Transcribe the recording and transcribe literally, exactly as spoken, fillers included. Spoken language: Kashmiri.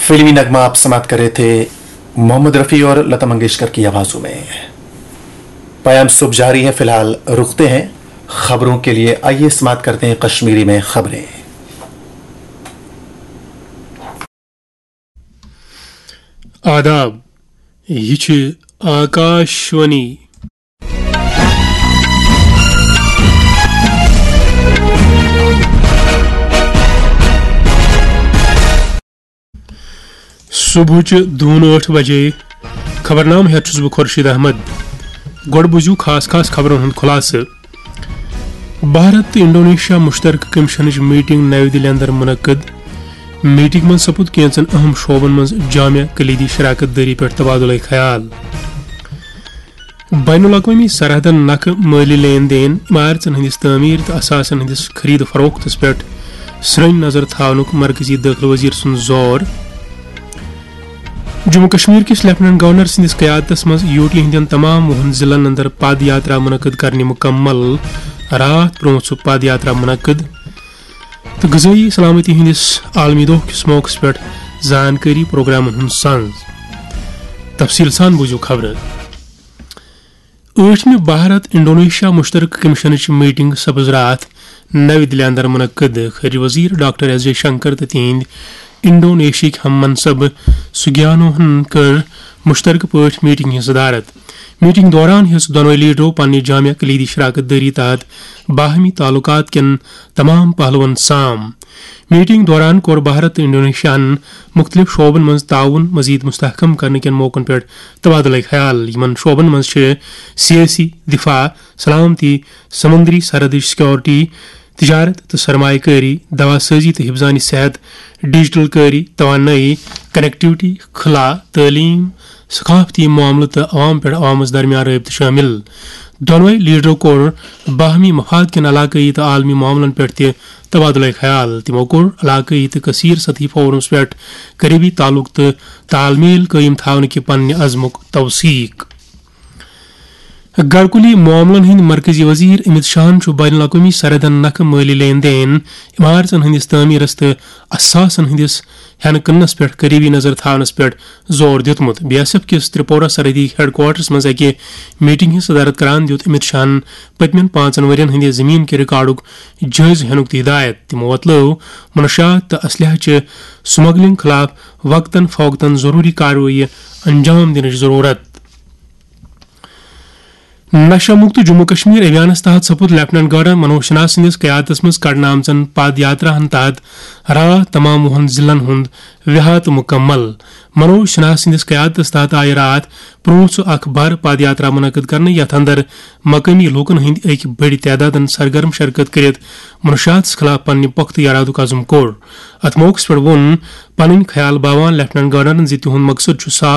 फिल्मी नगमा आप समाप्त कर रहे थे मोहम्मद रफ़ी और लता मंगेशकर की आवाज़ों में। पयाम सुबह जारी है, फिलहाल रुकते हैं खबरों के लिए। आइए समाप्त करते हैं कश्मीरी में खबरें। آداب، یہ چھ آکاشوانی۔ صبحٕچہِ دُہن ٲٹھ بجے۔ خبرنامہٕ ہیتھ چھُس بہٕ خورشید احمد۔ گۄڈٕ بوٗزِو خاص خاص خبرن ہُنٛد خلاصہٕ۔ بھارت تہٕ انڈونیشیا مشترکہٕ کمیشنٕچ میٹنگ نَوِ دِلہِ اندر منعقد۔ میٹنگ منٛز سپُد کینٛژن اہم شعبن منٛز جامع کلیدی شراکت دٲری پٮ۪ٹھ تبادلہٕ خیال۔ بین الاقوٲمی سرحدن نکھٕ مٲلی لین دین، عمارژن ہٕنٛدِس تعمیٖر تہٕ اثاثن ہٕنٛدِس خرید فروختس پٮ۪ٹھ سرٛنۍ نظر تھاونُک مرکزی دٲخلہٕ وزیر سُنٛد زور۔ جموں کشمیر کِس لیفٹیننٹ گورنر سٕنٛدِس قیادتس منٛز یوٗ ٹی ہٕنٛدٮ۪ن تمام وُہن ضلعن اندر پد یاترا منعقد کرنہِ مُکمل۔ راتھ برونٛہہ چھُ پد یاترا منعقد۔ تہٕ غذٲیی سلامتی ہٕنٛدِس عالمی دۄہ کِس موقعس پٮ۪ٹھ زانکٲری پروگرامن ہُنٛد سنز۔ تفصیٖل سان بوٗزِو خبرٕ۔ ٲٹھمہِ بھارت انڈونیشیا مشترکہٕ کمیشنٕچ میٹنگ سپٕز راتھ نَوِ دِلہِ اندر منعقد۔ خارجہ وزیر ڈاکٹر ایس جے شنکر تہٕ تِہنٛدۍ انڈونیشیاہٕکۍ ہم منصب سگیانوہن کٔر مشترکہٕ پٲٹھۍ میٹنگ ہٕنٛز صدارت۔ میٹنگ دوران ہیٚژ دۄنوَے لیڈرو پننہِ جامع کلیدی شراکت دٲری تحت باہمی تعلقات کٮ۪ن تمام پہلوَن سام۔ میٹنگ دوران کوٚر بھارت تہٕ انڈونیشیاہَن مُختٔلِف شعبَن منٛز تعاون مزید مستحکم کرنہٕ کٮ۪ن موقعن پٮ۪ٹھ تبادلہٕ خیال۔ یِمَن شعبَن منٛز چھِ سیٲسی، دفاع، سلامتی، سمندری سرحدٕچ سیکورٹی، تجارت تہٕ سرمایہ کٲری، دوا سازی تہٕ حفظان صحت، ڈیجیٹل کٲری، توانٲیی، کنیکٹیویٹی، خلا، تعلیم، ثقافتی معاملہٕ تہٕ عوام پٮ۪ٹھ عوامس درمیان رٲبطہٕ شٲمِل۔ دۄنوَے لیڈرو کوٚر باہمی مفاد کٮ۪ن علاقٲیی تہٕ عالمی معاملن پٮ۪ٹھ تہِ تبادلہٕ خیال۔ تِمو کوٚر علاقٲیی تہٕ کثیر سطحی فورمس پٮ۪ٹھ قریبی تعلق تہٕ تال میل قٲیِم تھاونہٕ کہِ پننہِ عزمُک توثیق۔ گرکُلی معاملن ہٕنٛدۍ مرکزی وزیر امت شاہن چھُ بین الاقوٲمی سرحدن نکھٕ مٲلی لین دین، عمارژن ہٕنٛدِس تعمیرس تہٕ اثاثن ہٕنٛدِس ہٮ۪نہٕ کٕننس پٮ۪ٹھ قریبی نظر تھاونس پٮ۪ٹھ زور دیُتمُت۔ بی ایس ایف کِس ترپورہ سرحدی ہیڈ کوارٹرس منٛز اکہِ میٹنگ ہٕنٛز صدارت کران دیُت امت شاہن پٔتمٮ۪ن پانٛژن ؤرین ہٕنٛدِ زٔمیٖن کہِ ریکارڈُک جٲیزٕ ہینُک تہِ ہدایت۔ تِمو وۄتلٲو منشیات تہٕ اسلحہ چہِ سمگلنگ خلاف وقتاً فوقتاً ضروٗری کاروٲیی انجام دِنٕچ ضروٗرت۔ نشہ مکت جموں کشمیر ابھیانس تحت سپُد لیفٹیننٹ گورنر منوج سنہا سٕنٛدِس قیادتس منٛز کڑنہٕ آمژن پد یاتراہن تحت راتھ تمام وُہن ضلعن ہُنٛد وِحاطہٕ مُکمل۔ منوج سنہا سٕنٛدِس قیادتس تحت آیہِ راتھ پرٛونٛژھ اکھ بھر پد یاترا منعقد کرنہٕ، یتھ اندر مقٲمی لوٗکن ہٕنٛدۍ أکۍ بٔڑۍ تعدادن سرگرم شرکت کٔرِتھ منشیاتس خلاف پننہِ پۄختہٕ ارادُک عزم کوٚر۔ اتھ موقعس پٮ۪ٹھ ووٚن پنٕنۍ خیال باوان لیفٹیننٹ گورنرن زِ تِہُنٛد مقصد چھُ صاف